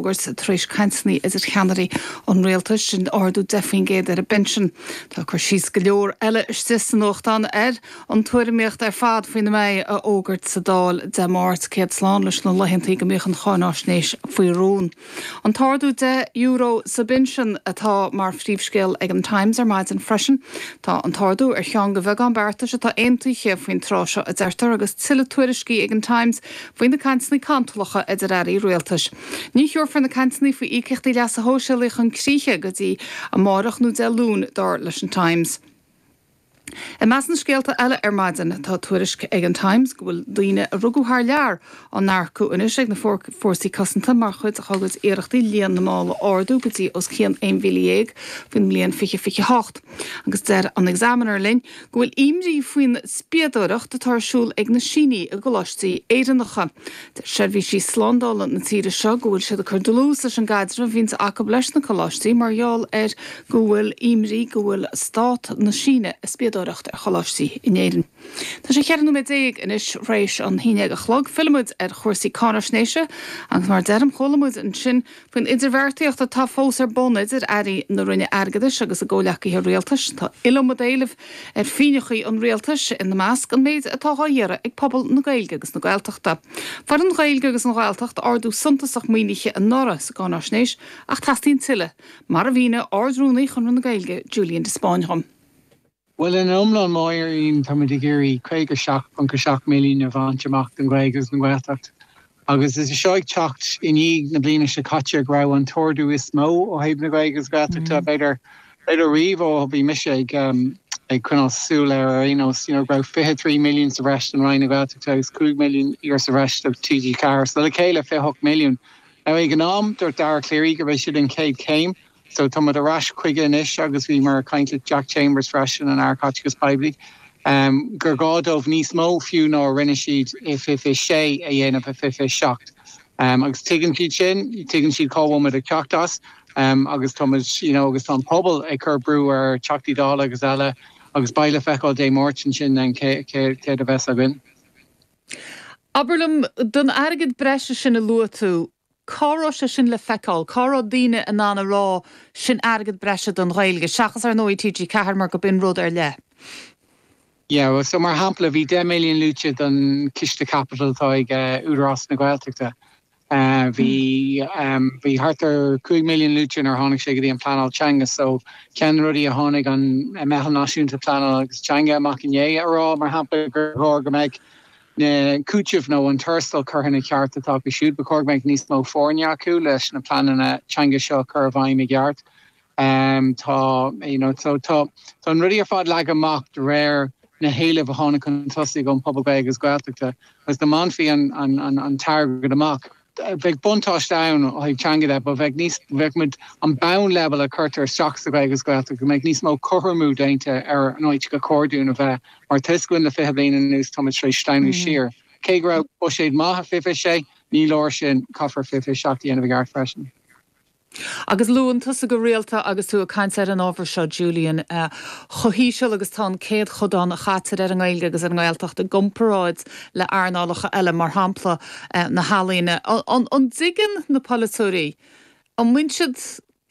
Fhógairt tar éis cainteanna idir cheannairí an rialtais, sin ardú 10% ar an bpinsean. Tá cur síos go leor eile istigh sa nuachtán ar an tuairimíocht ar fad faoina mbeidh á fhógairt sa Dáil Dé Máirt. Céad slán leis na laethantaí go mbíodh an cháináisnéis faoi rún. An t-ardú €10 sa bpinsean atá mar phríomhscéal ag an Times ar maidin freisin. Tá an t-ardú ar cheann de bheagán beartais atá aontaithe faoin tráth seo a deirtear agus tuilleadh tuairiscí ag an Times faoi na cainteanna cantalacha idir airí rialtais. Ní thabharfar na cainteanna faoi íocaíochtaí leasa shóisialaigh chun críche go dtí amárach nó Dé Luain, dar leis an Times. I measc na scéalta eile ar maidin, tá tuairisc ag an Times go bhfuil daoine a rugadh thar lear á n-earcú anois ag na fórsaí cosanta mar chuid dá gcuid iarrachtaí líon na mball a ardú go dtí os cionn 11,000 faoin mbliain 2028. Agus deir an Examiner linn go bhfuil imní faoin spiadóireacht atá ar siúl ag na Sínigh i gcoláistí Éireannacha. Deir seirbhísí slándála na tíre seo go bhfuil siad ag cur dlús leis an gcaidreamh a bhíonns acu leis na coláistí mar gheall ar go bhfuil imní go bhfuil stát na Síne ag spiadóireacht ar choláistí in Éirinn. Tá sé 14 nóiméad anois th'réis an haon déag a chlog. Fillfimid ar chúrsaí cáinaisnéise agus mar a deirim chuala muid ansin Faoin idirbheartaíocht atá fós ar bun idir airí na Roinne Airgeadais agus a gcomhleacaithe rialtais, tá iliomad éileamh ar phínneachaí an rialtais, ina measc, an méid atá dhá iarraidh ag pobal na Gaeilge agus na Gaeltachta. Fuair an Ghaeilge agus an Ghaeltacht ardú suntasach maoinithe anuraidh sa gcáináisnéis ach teastaíonn tuilleadh, mar a mhínigh Ard-Rúnaí Chonradh na Gaeilge, Julian de Spáinn dhom. Bhuel, ina iomlán, Máirín, táimid ag iarraidh 57.7 milliún a bhaint amach don Ghaeilge agus don Ghaeltacht. Agus is é seo ag teacht i ndiaidh na bliana seo caite go raibh an t-ardú is mó ó thaobh na Gaeilge agus Gaeltachta, b'fhéidir, b'fhéidir riamh ó bhí mise ag ag coinneáil súil air ar aon nós. You know, go raibh 23 milliún sa bhreis don Roinn na Gaeltachta agus 5 milliún sa bhreis do TG4. So le chéile 28 milliún. Now ag an am, dúirt Dara Calleary gurb é sin an chéad chéim. So tá muid ar ais chuige anois agus bhíomar ag caint le Jack Chambers freisin, an Aire Caiteachais Poiblí, gur gá dóibh níos mó fiú ná a rinne siad i 2026 a dhéanamh i 2027. Agus tuigeann siad sin, tuigeann siad cá bhfuil muid ag teacht as agus tá muid, you know, agus tá an pobal ag cur brú ar Teachtaí Dála agus eile agus beidh le feiceáil Dé Máirt ansin then céard a bheas againn. Abair liom, don airgead breise sin a luaigh tú, Cá raibh sé sin le feiceáil? Cá raibh daoine in ann a rá sin airgead breise don Ghaeilge, seachas ar ndóigh TG4 mar go b'in rud ar leith? Yeah, well so mar shampla bhí 10 milliún luaite don chiste caipitil atá ag Údarás na Gaeltachta. Bhí bhí thart ar 5 milliún luaite nuair a tháinig sé go dtí an pleanáil teanga so ceann de na rudaí a tháinig an Meitheal Náisiúnta Pleanála agus Teanga amach inné a rá mar shampla gur chóir go mbeadh na cúitimh nó an tuarastal curtha ina cheart atá acu siúd. Ba chóir go mbeadh níos mó foirne acu leis na pleananna teanga seo a chur i bhfeidhm i gceart. Tá, you know, so tá, tá na rudaí ar fad leagtha amach de réir na héilimh a tháinig chun tosaigh ón pobal Gaeilge agus Gaeltachta agus dá mbainfí an, an, an, an t-airgead amach, Bheadh buntáiste ann ó thaobh teanga de, but bheadh níos, bheadh muid, an bonn leibhéal a cuirtear isteach sa Ghaeilge agus Gaeltacht, go mbeadh níos mó cothromú déanta ar an áit gur chóir dúinn a bheith, mar tá a fhios againn le 20 bliain anuas tá muid tar éis sleamhnú siar. Cé go raibh buiséad maith i 2026, ní leor sin, caithfear 2027 a dhéanamh i gceart freisin. Agus luann tusa go rialta agus tú ag caint ar an ábhar seo, Julian, chomh híseal agus tá an céadchodán a chaitear ar an nGaeilge agus ar an nGaeltacht i gcomparáid le earnálacha eile, mar shampla na healaíona. An dtuigeann na polaiteoirí, an mbíonn siad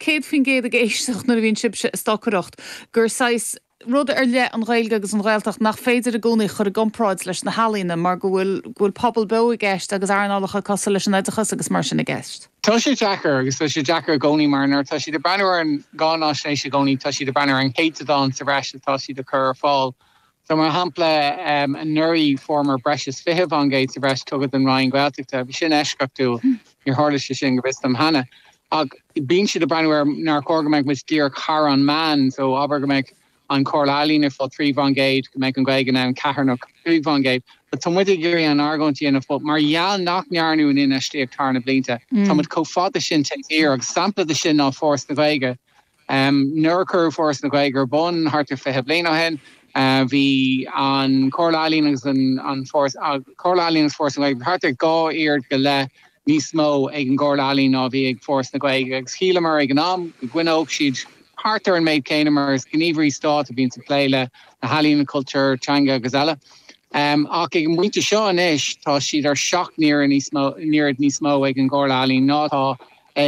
100% ag éisteacht nuair a bhíonn sibhse ag stocaireacht, gur saghas rud ar leith an Ghaeilge agus an Ghaeltacht nach féidir i gcónaí chur i gcomparáid leis na healaíona mar go bhfuil go bhfuil pobal beo i gceist agus earnálacha cosúil leis an oideachas agus mar sin i gceist. Tá sé deacair agus tá sé deacair i gcónaí mar nuair atá siad ag breathnú ar an gcáináisnéis i gcónaí tá siad ag breathnú ar an chéatadán sa bhreis atá siad ag cur ar fáil. So mar shampla anuraidh fuaireamar breis is 20% sa bhreis tugtha don Roinn Gaeltachta. Bhí sin eisceachtúil, níor tharla sé sin go bhfios dom cheana. Ach bíonn siad ag breathnú ar nár chóir go mbeadh muid díreach thar an meán, so abair go mbeadh an Chomhairle Ealaíon ag fáil 3%, go mbeadh an Ghaeilge in ann 4 nó 5%. But tá muid ag iarraidh an argóint a dhéanamh but mar gheall nach ndearnadh an infheistíocht thar na blianta, tá muid chomh fada sin taobh thiar agus sampla de sin ná Foras na Gaeilge. Nuair a cuireadh Foras na Gaeilge ar bun thart ar 20 bliain ó shin, bhí an Chomhairle Ealaíon agus an Foras, Comhairle Ealaíon agus Foras na Gaeilge, thart ar dhá oiread go leith níos mó ag an gComhairle Ealaíon ná a bhí ag Foras na Gaeilge agus shíleamar ag an am go gcoinneodh siad thart ar an méid céanna mar is gníomhairí stáit a bhíonn ag plé le na healaíona, cultúr, teanga agus eile. Ach ag an bpointe seo anois tá siad ar sheacht n-oiread níos mó, n-oiread níos mó ag an gComhairle Ealaíon ná atá.